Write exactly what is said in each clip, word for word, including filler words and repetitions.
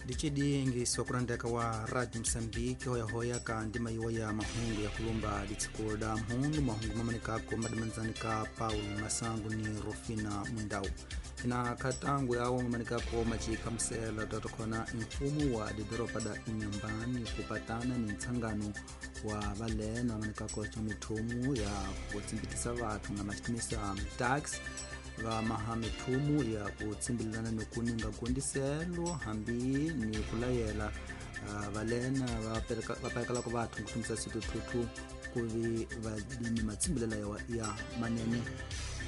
Dicidi sokurandeka wa Radio Msambiki hoyahoya ka ndima yiwa ya mahungu ya kulumba ditsikulu da mhundu mahungu mamanikako madimanzani ka Paulo Masangu ni Rufina Mundau na katangu yawo mamanikako machika msela tatokhona mfumo wa didoropa da Inhambane kupatana ni ntsangano wa valena mamanikako cha mithumu ya kutsimbitisa vathu na maxitimisa tax va maha mithumu ya kutsimbilelana ni kuninga gondiselo hambi ni kulayela uh, valena va perekalaka vathu kutumisa situthuthu kuvi va ni matsimbilela ya, ya manene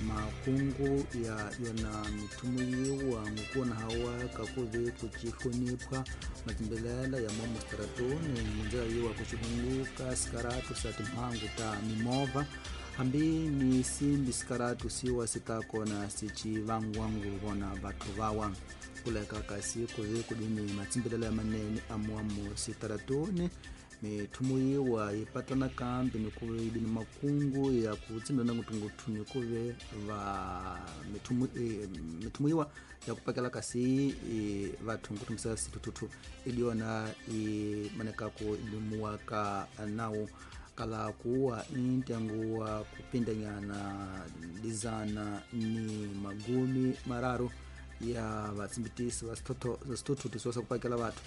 makungu ya yona mithumu yiwa ngukuna hawa kakuvi kucihlonipha matsimbilela ya momostratoni mundzela yiwa kucihunguka sikaratu sa timhangu ta mimovha hambi ni simbi sikaratu siwa sitakona sicivangwangu vona vathu vawa kuleka kasi kuvi kudini matsimbilela ya manene amuamu sitaratoni mithumu yiwa yi patana kambi ni kuve ni makungu ya kutsimbilana ngutunguthu ni kuve va mithumu e, mithumu yiwa ya kupakela kasi e, vathu nkutumisa situthuthu iliyona i manekako ilimuwa ka nawu kala kuwa intengo wa kupindanyana dizana ni magumi mararu ya vatsimbitisi va swithuthuthu swa kupakela vathu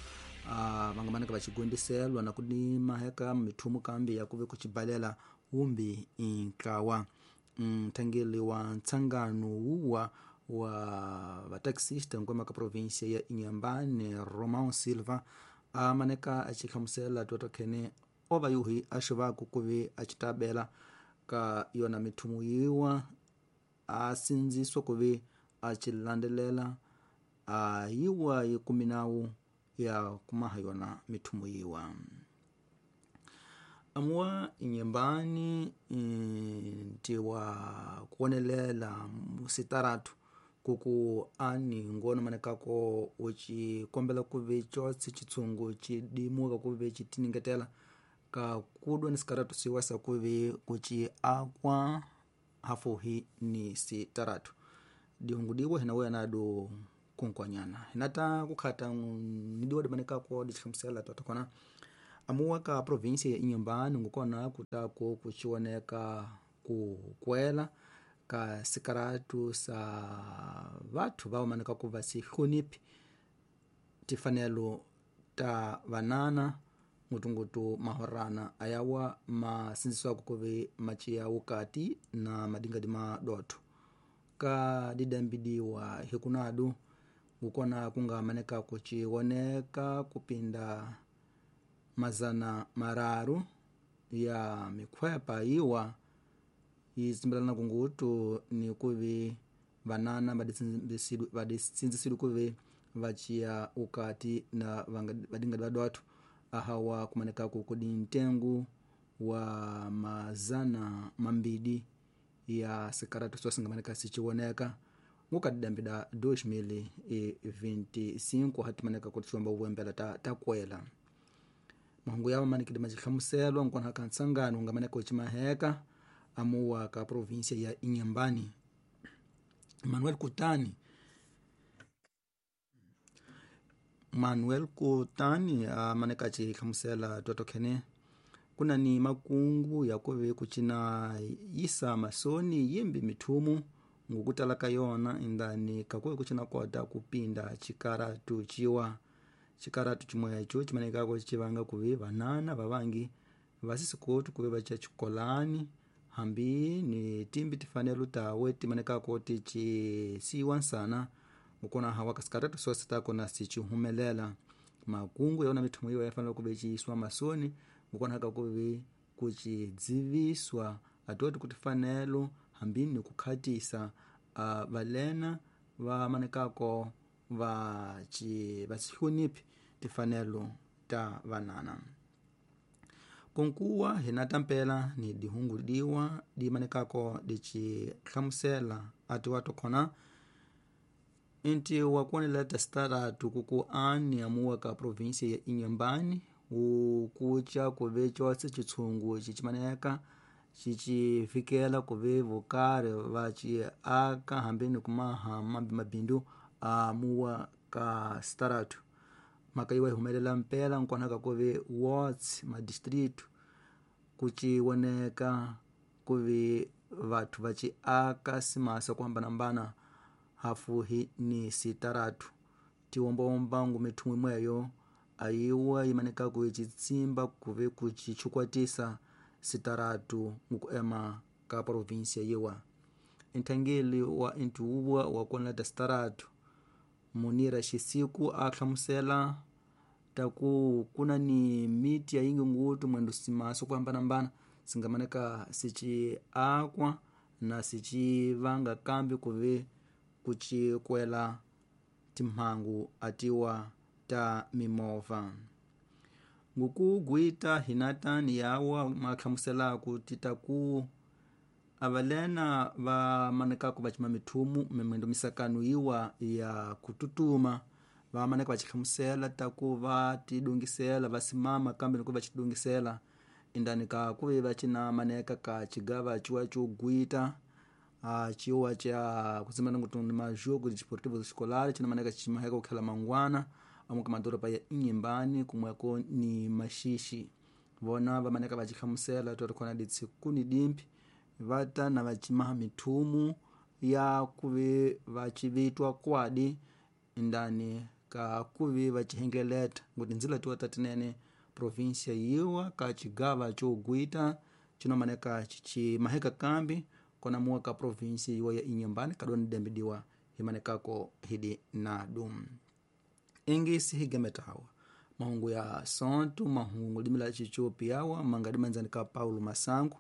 uh, vangamaneka vacigondiselwa na kudimaheka mithumu kambi ya kuve kucibalela umbi intlawa nthangeli wa ntsangano wuwa wa vataxista nkwama ka província ya Inhambane Romão Silva amaneka acihlamusela twatokhene ova yuhi axivaku kuvi acitabela ka yona mithumu yiwa asindziswa kuvi acilandelela ayiwa yikuminawu ya kumaha yona mithumu yiwa amuwa Inhambane ntiwa kuonelela musitaratu kuku ani ngono manekako ucikombela kuvi cotse citshungu cidimuka kuvi citiningetela ka kudwa ni sikaratu siwasa kuvi kuci akwa hafuhi ni sitaratu dihungu diwa hina weya nadu kunkwanyana hinata kukhata nidiwa dimanekako dicihlamusela twatokona amuwa ka província ya Inhambane ngukona kutako kucioneka kukwela ka sikaratu sa vathu vaomanekako vasihloniphi tifanelo ta vanana ngutungutu mahorana ayawa masindziswako kuve maciya wukati na madingadi madotho ka didambidiwa hikunadu ngukona kungamaneka kuciwoneka kupinda mazana mararu ya mikhwepa yiwa yitsimbilana kungutu ni kuvi vanana vadisindzisidwe kuve vaciya ukati na vadingadi vadotho ahawa kumanekako kudi ntengu wa mazana mambidi ya sikaratu sosingamaneka siciwoneka ngukadidambida dois mil e vinte e cinco hatimaneka kutiwamba uwembela ta, ta kwela mahungu yawa manikidi macihlamuselwa nkona ka ntsangano ungamaneka ucimaheka amuwa ka província ya Inhambane Manuel Kutani Manuel Kutani amaneka acihlamusela twatokhene kuna ni makungu ya kuve kucina yisa masoni yimbi mithumu ngukutala ka yona indani kakuve kucina kota kupinda cikaratu ciwa cikaratu cimweco cimanekako civanga kuve vanana vavangi vasisikotu kuve vaca cikolani hambi ni timbi tifanelo tawe timanekako ticisiwa nsana ngukona hawa kasikaratu sosi takona sicihumelela makungu yona mithumu yiwa yafanela kuve ciiswa masoni ngukona haka kuve kucidziviswa atoti kutifanelo hambi ni kukhatisa uh, valena vamanekako va vasihloniphi tifanelo ta vanana konkuwa hina tampela ni dihungu diwa dimanekako dicihlamusela atiwa tokhona inti wakuonela tasitaratu kuku ani amuwa ka província ya Inhambane ukuca kuve cose citshungu cicimaneka cicifikela kuve vokari vaci aka hambi ni kumaha mambi mabindu amuwa ka sitaratu Mhaka yiwa yi humelela mpela nkwana ka ku ve wards madistrict kuciwoneka ku ve vathu va ci aka simasa ku hambanahambana hafuhi ni sitaratu tiwombawomba ngumithumu imweyo ayiwa yimanekaku yicitsimba kuve kucichukwatisa sitaratu ngukuema ka provinsia yiwa. Nthangeli wa intuwa wa konleta sitaratu Munira Xisiku a hlamusela taku kuna ni miti ya yingi ngutu mwendo simaso ku hambanahambana singamaneka sici akwa na sici vanga kambi kuve kucikwela timhangu atiwa ta mimovha. Ngukugwita hinatani yawa mahlamuselaku titaku avalena va manekaku va cima mithumu mimwendo misakano yiwa ya kututuma va maneka va xihlamusela taku va tidungisela va simama kambe loko va xidungisela indani ka ku ve va cina maneka ka cigava ciwa co gwita a ciwa ca kutsimana ngutuni majogo desportivo escolar cina maneka cimaheka kukhela mangwana amuka madoroba ya Inhambane kumweko ni Maxixi. Vona va maneka va xihlamusela to ri khona ditsiku ni dimpi va ta na va cimaha mithumu ya kuve va civitwa kwadi indani ka kuve va cihengeleta nguti ndzila tiwa ta tinene provinsia yiwa ka cigava co gwita cinomaneka cicimaheka kambi kona muwa ka provinsia yiwa ya Inhambane kadoni dembidiwa himanekako hidi nadu. Ingisi higemetawa mahungu ya sontu mahungu limila chichopi yawa mangadi manzani ka Paulo Masangu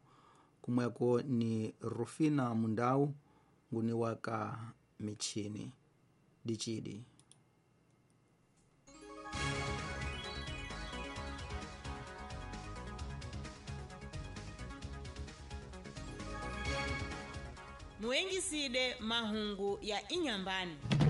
kumweko ni Rufina Mundau nguni waka michini dichidi. Muengiside mahungu ya Inhambane.